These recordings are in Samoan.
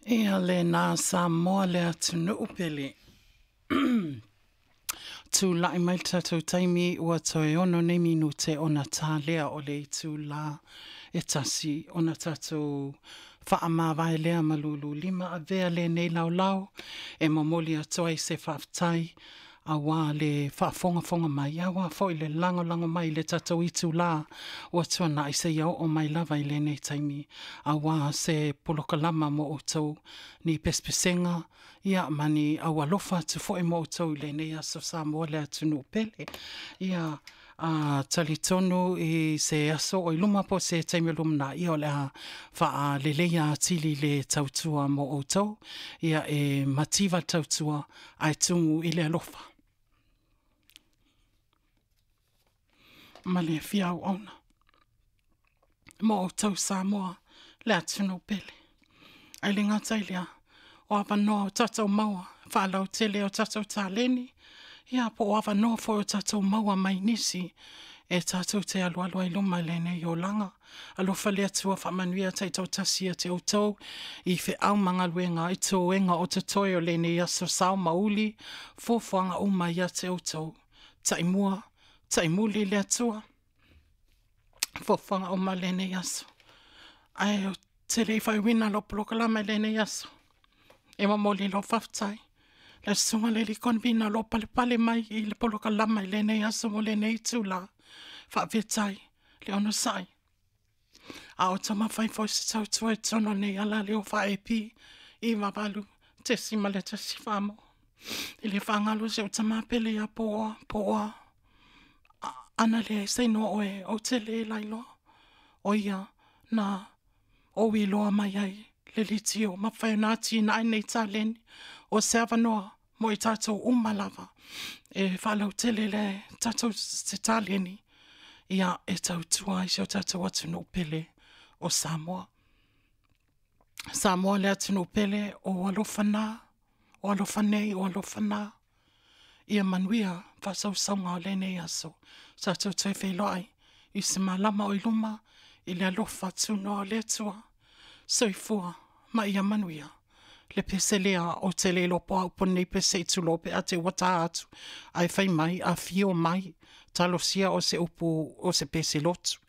Ia lena Samoa le atunuu pele. Tula'i mai le tatou taimi ua toe 6 nei minute ona ta lea o le itulā e 1 ona tatou faamavae lea ma lululima avea lenei laolao e momoli atu ai se faafetai auā le faafogafoga mai, auā foi le lagolago mai i le tatou itulā ua tuanai seia oo mai lava i lenei taimi, auā se polokalama mo outou, ni pesepesega, ia ma ni aualofa atu foi mo outou i lenei aso Samoa le atunuu pele. Ia, a talitonu i se aso o i luma po o se taimi o lumanai, ia o le a faaleleia atili le tautua mo outou, ia e mativa le tautua ae tumu i le alofa ma le fia auauna mo outou Samoa le atunuu pele. Ae le gata i lea, o avanoa o tatou maua faalautele o tatou taleni, ia po o avanoa foi o tatou maua mai nisi e tatou te alualu ai luma i lenei olaga. Alofa le Atua faamanuia taitoatasi ia te outou i feau ma galuega i toega o totoe o lenei aso sao ma uli, fuafuaga uma ia te outou. Taimua, taimuli le Atua, fuafuaga uma o lenei aso. Ae ou te le i faaiuina lau polokalame i lenei aso, e momoli lau faafetai i le Susuga i le alii Convener o lo o palepale mai i le polokalame i lenei aso ma lenei itula. Faafetai le onosai. A o taumafai foi se tautua i totonu o lenei alaleo faa-AP 98.1 Samoa. E le faagalo si ou tama pele ia Pooa, Pooa, ana leai se igoa o oe, ou te le lailoa. O ia na ou iloa mai ai le leitio, mafai ona atinae nei taleni. O se avanoa mo i tatou uma lava e faalautele le tatou se taleni ia e tautua ai si o tatou atunuu pele o Samoa. Samoa le atunuu pele, o alofa na, o alofa nei, o alofa na. Ia manuia faasausauga o lenei aso. Tatou toe feiloai i se malama o i luma i le alofa tunoa o le Atua. Soifua ma ia manuia. Le pese lea ou te le iloa po o a upu o lenei pese se i tulou pe a te i ua ta atu, ae fai mai, afio mai, talosia o se upu o se pese lotu.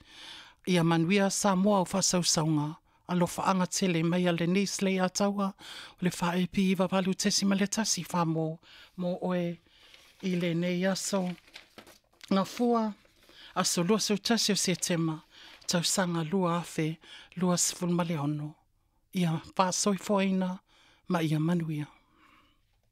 Ia manuia Samoa o faasausauga, alofaaga tele mai a Lenise Leiataua o le 4AP 98.1 Samoa mo oe i lenei aso Gafua, aso 21 o Setema, tausaga 2026. Ia faasoifuaina ma ia manuia.